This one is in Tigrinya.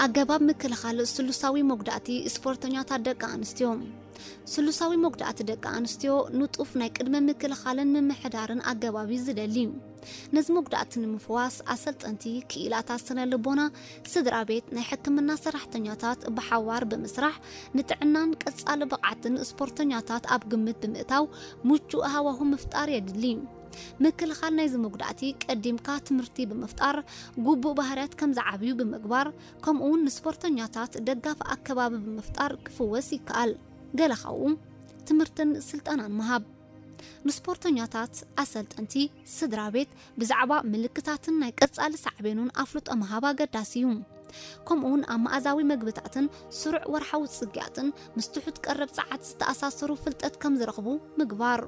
ኣገባብ ምክልኻል ስሉሳዊ መጉዳእቲ ስፖርተኛታት ደቂ ኣንስትዮ። ስሉሳዊ መጉዳእቲ ደቂ ኣንስትዮ ንጡፍ ናይ ቅድመ ምክልኻልን ምምሕዳርን ኣገባብ እዩ ዝደሊ። ነዚ መጉዳእቲ ንምፍዋስ ኣሰልጠንቲ፣ ክኢላታት ስነ ልቦና፣ ስድራ ቤት፣ ናይ ሕክምና ሰራሕተኛታት ብሓባር ብምስራሕ ንጥዕናን ቀጻሊ ብቕዓትን ስፖርተኛታት ኣብ ግምት ብምእታው ምቹእ ሃዋሁ ምፍጣር የድሊ። ምክልኻል ናይዚ መጉዳእቲ ቀዲምካ ትምህርቲ ብምፍጣር፣ ግቡእ ባህርያት ከም ዝዓብዩ ብምግባር፣ ከምኡውን ንስፖርተኛታት ደጋፊ ኣከባቢ ብምፍጣር ክፍወስ ይከኣል። ገለ ካብኡ ትምህርትን ስልጠናን ምሃብ። ንስፖርተኛታት፣ ኣሰልጠንቲ፣ ስድራ ቤት ብዛዕባ ምልክታትን ናይ ቀጻሊ ሳዕቤኑን ኣፍልጦ ምሃብ ኣገዳሲ እዩ። ከምኡውን ኣብ መኣዛዊ መግብታትን ስሩዕ ወርሓዊ ጽግያትን ምስ ትሑት ቀረብ ጸዓት ዝተኣሳሰሩ ፍልጠት ከም ዝረኽቡ ምግባር።